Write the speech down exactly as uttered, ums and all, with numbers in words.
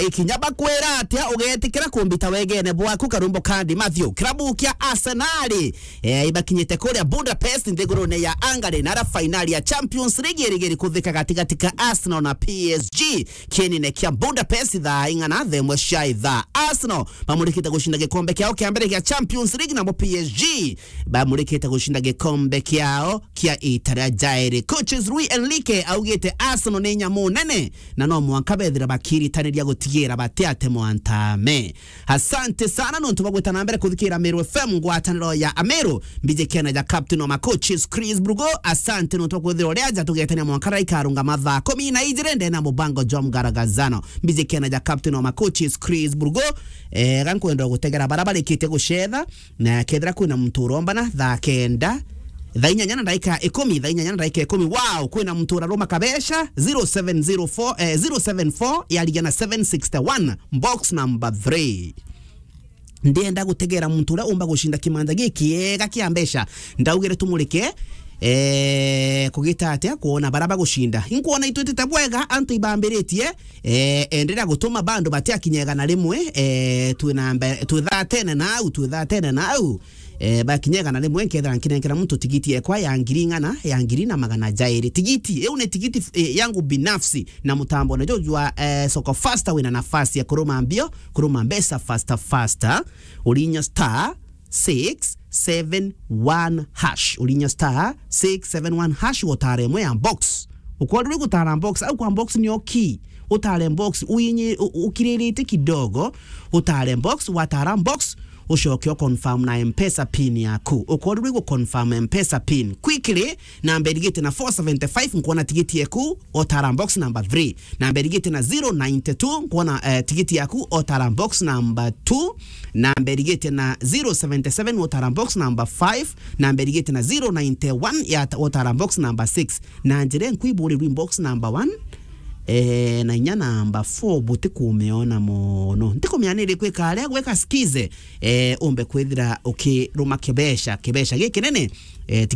ikinya bakwira atia ugetikira kumbita wegene bwaku karumbo kandi Matthew. Kirabu kia Arsenal, eh, ibakinyite kuria Budapest nthigurune ya Hungary, na ara fainali ya Champions League irigiri kuthika gatigati ka Arsenal na P S G. Kienine kia Budapest thaa ing'ana, thaa imwe cia ithaa. Arsenal bamurikite gucinda gikombe kiao kia mbere gia Champions League, nabo P S G bamurikite gucinda gikombe kiao kia ita ria jairi. Coaches Luis Enrique augite Arsenal ni nyamu nene na no mwanka bethira bakiritaniria gutigira batiate mwantame. Asante sana nontu bwa gwita na mbere kuthikira Meru F M, ngwataniro ya Ameru. Mbiji kiana ja captain wa ma coaches Chris Brugo. Asante nontu bwa kwithira uri aja tugetania mwanka raikarunga mathaa kumi na ijiri ndena mubango jwa mgaragazano. Mbiji kiana ja captain wa ma coaches Chris Brugo. Eh, ga nkwenda gutegera bara barikite gucetha, na kethira kwina muntu urombana thaa kenda, thaa inyanya na ndaika ikumi, thaa inyanya na ndaika ikumi. Wow, kwina muntu uraruma kabesha, zero seven zero four, eh, zero seven four yarigia na seven sixty one, box number three. Ndienda gutegera muntu uria umba gucinda kimanja gikiega kia mbeca. Ndaugire tumurike, eh, kugita atia kwona bara bagucinda. Inkwona itwitite bwega, antu ibambiritie, eh, enderea gutuma bandu batiakinya igana rimwe, eh, twina mbe-, twithatene nau, twithatene nau. Eh, bakinya igana rimwe, nkethira nkinenkera muntu tigiti ekwa ya ngiri ing'ana, ya ngiri na magana jairi. Tigiti, iu ni tigiti, eh, yangu binafsi, na mutambo na jujwa, eh, Soko Faster wina nafasi ya kuruma mbio, kuruma mbeca faster faster. Urinya star six seven one hash. Urinya star six seven one hash, wotare imwe ya box. Ukwona uri gutara box, au kwa box nio key. Utare box, uinye, u-, ukiriritie kidogo, utare box, watara box, ucoke u confirm na M-Pesa pin yaku. Ukwona uri gu confirm M-Pesa pin. Quickly, namba irigite na four seventy-five, nkwona tigiti eku, otara box number three. Namba irigite na zero ninety-two, nkwona, eh, tigiti yaku, otara box number two. Namba irigite na zero seventy-seven, otara box number five. Namba irigite na zero ninety-one, ya ta-, otara box number six. Na njira nkwiburirwe box number one, eh, na inya namba four, butikumiona mono. Ntikumianiri kwika aria gweka skize, eh, umbe kwithira ukiruma kibesha, kibesha gikinene, eh, tigiti